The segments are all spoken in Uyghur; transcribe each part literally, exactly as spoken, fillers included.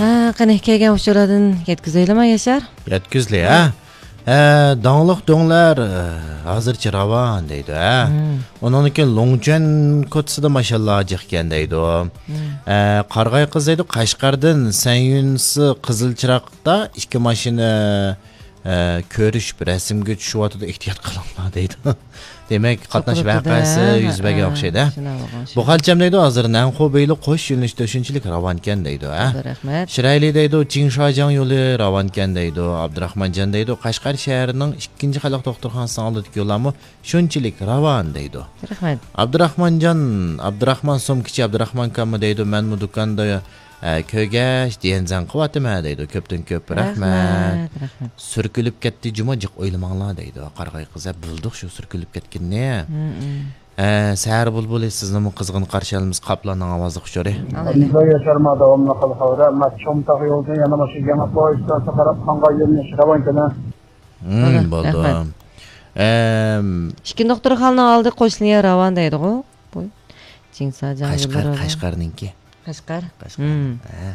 ھە، قېنى، كەلگەن ئۇچۇرلاردىن يەتكۈزەيلىما، ياشار؟ يەتكۈزلى، ھە؟ ھە، داڭلىق دۆڭلەر، ھە، ھازىرچە راۋان دەيدۇ، ھە؟ مم. ئۇنىڭدىن كېيىن لوڭچۈەن كوتىسىدا ماشاللا جىق ئىكەن دەيدۇ. مم. ھە، قارىغاي قىز دەيدۇ، قەشقەردىن سەنيۈنسى قىزىل چىراغدا ئىككى ماشىنا ئە، كۆرۈشۈپ رەسىمگە چۈشۈۋاتىدۇ، ئېھتىيات قىلىڭلار دەيدۇ. دېمەك، قاتناش ۋەقەسى يۈز بەرگەن ئوخشايدۇ، ھە؟ بۇ خەلچەم دەيدۇ، ھازىر نەنخۇ بېيلى قوش يۆنىلىشتە شۇنچىلىك راۋانكەن دەيدۇ، ھە؟ رەھمەت. شىرايلى دەيدۇ، چىڭشاجاڭ يولى راۋانكەن دەيدۇ. ئابدۇراخمانجان دەيدۇ، قەشقەر شەھىرىنىڭ ئىككىنچى خەلق دوختۇرخانىسىنىڭ ئالدىدىكى يوللارمۇ شۇنچىلىك راۋان دەيدۇ. رەھمەت. ئابدۇراخمانجان، ئابدۇراخمان سومكىچى ئابدۇراخمان ئاكاممۇ دەيدۇ، مەنمۇ دۇكاندا ئە، كۆرگەچ، دىيەنزەڭ قىلىۋاتىمەن دەيدۇ. كۆپتىن كۆپ رەھمەت. رەھمەت، رەھمەت. سۈركىلىپ كەتتى جۇمۇ، جىق ئويلىماڭلار دەيدۇ. قارىغاي قىز، ھە، بىلدۇق شۇ سۈركىلىپ كەتكىنىنى. مم. ئە، سەھەر بۇلبۇلى، سىزنىمۇ قىزغىن قارشى ئالىمىز، قاپلاننىڭ ئاۋازلىق ئۇچۇرى. ئالايلى. ياشارما داۋاملىق قىل خەۋەر. مەن چومتاغ يولىدىن يەنە ماشىنا يېڭى پويىزغا قاراپ قانغا يۆنىلىش راۋانكەن. مم، بولىدۇ، بولدى. رەھمەت. ئەم. ئىككى دوختۇرخانىنىڭ ئالدى قوشنىيە راۋان دەيدىغۇ. بۇ چىڭساجاڭ قەشقەر، يوللىرى. قەشقەرنىڭكى. قەشقەر؟ قەشقەر. مم. ھە.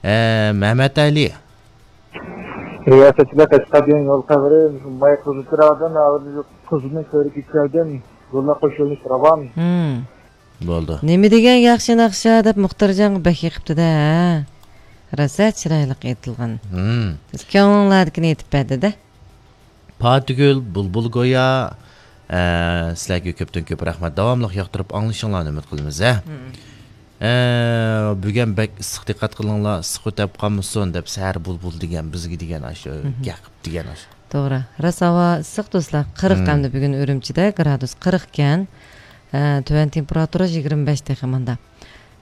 ئە، مەمەت ئەلى. رىياسەتچىلەر، قەشقەر دېگەن يول خەۋىرى ماي قىزىل چىراغدىن، ھازىر قىزىلنى كۆرۈپ كەلدىم. يوللار قوشۇلۇش راۋان. مم. بولدى. نېمە دېگەن ياخشى ناخشا دەپ مۇختەرجانغا بەك يېقىپتۇ-دە، ھە؟ راسا چىرايلىق ئېيتىلغان. مم. سىز كۆڭلۈڭلاردىكىنى ئېيتىپ بەردى-دە. پاتىگۈل، بۇلبۇل گويا، ئە، سىلەرگە كۆپتىن كۆپ رەھمەت. داۋاملىق ياقتۇرۇپ ئاڭلىشىڭلارنى ئۈمىد قىلىمىز، ھە. مم. ئە، بۈگۈن بەك ئىسسىق، دىققەت قىلىڭلار، ئىسسىق ئۆتەپ قالمىسۇن دەپ، سەھەر بۇلبۇل دېگەن، بىزگە دېگەن ئاشۇ، مم. گەپ دېگەن ئاشۇ. توغرا. راست ھاۋا ئىسسىق، دوستلار. قىرىق مم. ئەمدى بۈگۈن ئۈرۈمچىدە گرادۇس قىرىق ئىكەن. ئە، تۆۋەن تېمپېراتۇرا يىگىرمە بەش تېخى ماندا.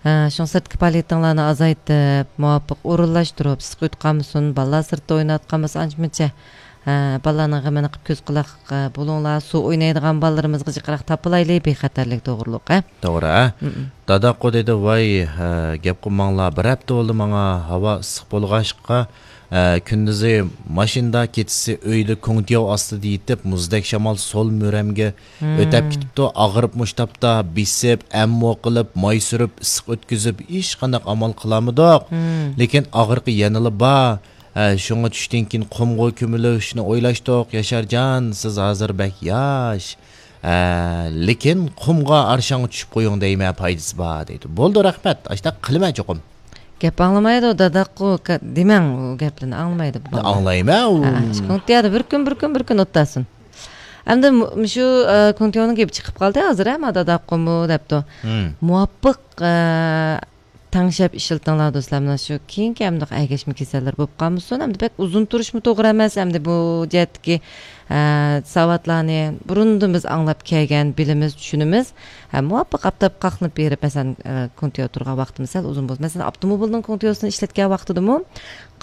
ھە، شۇڭا سىرتقى پائالىيىتىڭلارنى ئازايتىپ، مۇۋاپىق ئورۇنلاشتۇرۇپ، ئىسسىق ئۆتۈپ قالمىسۇن، بالىلار سىرتتا ئويناۋاتقان بولسا ئانچە-مۇنچە، ھە، بالىلارنىڭ غېمىنى قىلىپ كۆز قۇلاق، ھە، بولۇڭلار، سۇ ئوينايدىغان بالىلىرىمىزغا جىقراق تاپىلايلى، بىخەتەرلىك توغرۇلۇق، ھە؟ توغرا، ھە؟ مم. داداققۇ دېدى، ۋاي، ھە، گەپ قىلماڭلار، بىر ھەپتە بولدى ماڭا، ھاۋا ئىسسىق بولغاچقا، ئە، كۈندۈزى ماشىنىدا، كېچىسى ئۆيدە كوڭتياۋ ئاستىدا يېتىپ، مۇزدەك شامال سول مۈرەمگە مم. ئۆتەپ كېتىپتۇ. ئاغرىپ مۇشتاپتا بېسىپ، ئەممۇ قىلىپ، ماي سۈرۈپ، ئىسسىق ئۆتكۈزۈپ، ھېچقانداق ئامال قىلالمىدۇق. مم. لېكىن ئاغرىقى يەنىلا بار. ئە، شۇڭا چۈشتىن كېيىن قۇمغا كۆمۈلۈشنى ئويلاشتۇق. ياشارجان، سىز ھازىر بەك ياش. ئە، لېكىن قۇمغا، ئارشاڭغا چۈشۈپ قويۇڭ دەيمەن، پايدىسى بار دەيدۇ. بولدى، رەھمەت. ئاشۇنداق قىلىمەن چوقۇم. گەپ ئاڭلىمايدۇ، داداققۇ، دېمەڭ ئۇ گەپلىرىنى، ئاڭلىمايدۇ بۇ بالىلار. ئاڭلايمەن ئۇ. ھە، شۇ كوڭتيادا بىر كۈن، بىر كۈن، بىر كۈن ئولتۇرسۇن. ئەمدى مۇ-، مۇشۇ، ئە، كوڭتياۋنىڭ گېپى چىقىپ قالدى ھازىر، ھە، ما داداققۇمۇ دەپتۇ. مم. مۇۋاپىق، ئە، تەڭشەپ ئىشلىتىڭلار دوستلار. مانا شۇ كېيىنكى ئەمدى ئەگەشمە كېسەللەر بولۇپ قالمىسۇن. ئەمدى بەك ئۇزۇن تۇرۇشمۇ توغرا ئەمەس. ئەمدى بۇ جەھەتتىكى، ئە، ساۋاتلارنى بۇرۇندىن بىز ئاڭلاپ كەلگەن، بىلىمىز، چۈشىنىمىز. ھە، مۇۋاپىق ئاپتاپ قاقلىنىپ بېرىپ، مەسىلەن، ئە، كوڭتياۋ تۇرغان ۋاقتىمىز سەل ئۇزۇن بولسا. مەسىلەن، ئاپتوموبىلنىڭ كوڭتياۋسىنى ئىشلەتكەن ۋاقتىدىمۇ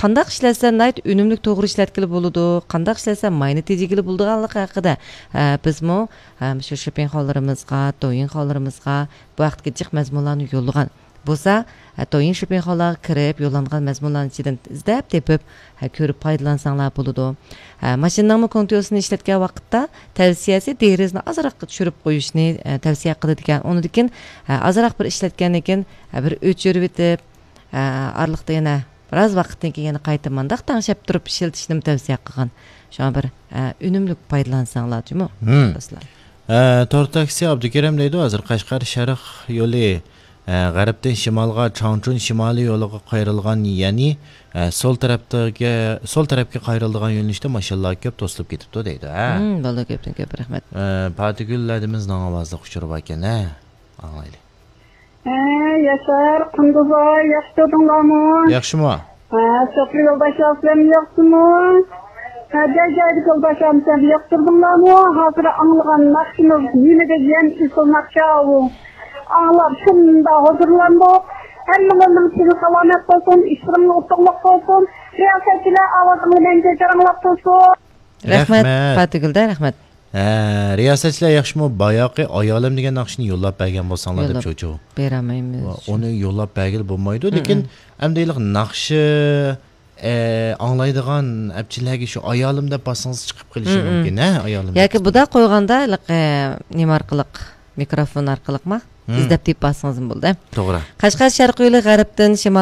قانداق ئىشلەتسە ناھايىتى ئۈنۈملۈك توغرا ئىشلەتكىلى بولىدۇ، قانداق ئىشلەتسە ماينى تېجىگىلى بولىدىغانلىقى ھەققىدە، ئە، بىزمۇ، ئە، مۇشۇ شىپىڭخۇانلىرىمىزغا، دويىڭخۇانلىرىمىزغا بۇ ھەقتىكى جىق مەزمۇنلارنى يوللىغان. بولسا، ھە، دويىڭ شىپىڭخۇانلارغا كىرىپ يوللانغان مەزمۇنلارنىڭ ئىچىدىن ئىزدەپ تېپىپ، ھە، كۆرۈپ پايدىلانساڭلار بولىدۇ. ھە، ماشىنىنىڭمۇ كوڭتياۋسىنى ئىشلەتكەن ۋاقىتتا تەۋسىيەسى دېرىزىنى ئازراق چۈشۈرۈپ قويۇشنى، ئە، تەۋسىيە قىلىدىكەن. ئۇنىڭدىن كېيىن، ھە، ئازراق بىر ئىشلەتكەندىن كېيىن، ھە، بىر ئۆچۈرۈۋېتىپ، ئە، ئارىلىقتا يەنە بىراز ۋاقىتتىن كېيىن يەنە قايتا مانداق تەڭشەپ تۇرۇپ ئىشلىتىشنىمۇ تەۋسىيە قىلغان. شۇڭا بىر، ئە، ئۈنۈملۈك پايدىلانساڭلار جۇمۇ، مم. دوستلار. ئە، تور تاكسى ئابدۇكېرىم دەيدۇ، ھازىر قەشقەر شەرق يولى، ئە، غەربتىن شىمالغا چاڭچۇن شىمالىي يولىغا قايرىلغان، يەنى، ئە، سول تەرەپتىكى، سول تەرەپكە قايرىلىدىغان يۆنىلىشتە ماشىنىلار كۆپ توسۇلۇپ كېتىپتۇ دەيدۇ، ھە؟ مم، بولدى، كۆپتىن كۆپ رەھمەت. ئە، پاتىگۈل ھەدىمىزنىڭ ئاۋازلىق ئۇچۇرى باركەن، ھە؟ ئاڭلايلى. ھە، ياشار، قۇندۇزاي، ياخشى تۇردۇڭلارمۇ؟ ياخشىمۇ؟ ھە، شوپۇر يولداشلار سىلەرمۇ ياخشىمۇ؟ ھە، جاي جايدىكى يولداشلارمۇ سىلەرمۇ ياخشى تۇردۇڭلارمۇ؟ ھازىر ئاڭلىغان ناخشىمىز نېمە دېگەن ئېسىل ناخشا ئۇ. ئاڭلاپ شۇنداق ھۇزۇرلاندۇق. ھەممىڭلارنىڭ تېنى سالامەت بولسۇن، ئىشلىرىڭلار ئۇتۇقلۇق بولسۇن. رىياسەتچىلەر ئاۋازىڭلار مەڭگۈ جاراڭلاپ تۇرسۇن. رەھمەت، رەھمەت. پاتىگۈلدە رەھمەت. ھە، رىياسەتچىلەر ياخشىمۇ؟ باياقى ئايالىم دېگەن ناخشىنى يوللاپ بەرگەن بولساڭلار دەپ يوللاپ چوچۇ. بېرەلمەيمىز. ۋا، ئۇنى يوللاپ بەرگىلى بولمايدۇ، لېكىن ئەمدى ھېلىقى ناخشا، ئە، ئاڭلايدىغان ئەپچىلەرگە شۇ ئايالىم دەپ باسسىڭىز چىقىپ قېلىشى مۇمكىن، ھە، ئايالىم دەپ. ياكى بۇنداق قويغاندا ھېلىقى نېمە ئارقىلىق، مىكروفون ئارقىلىقما ئىزدەپ تېپىپ باسسىڭىزمۇ بولىدۇ. توغرا. قەشقەر شەرقىي يولى غەربتىن شىمالغا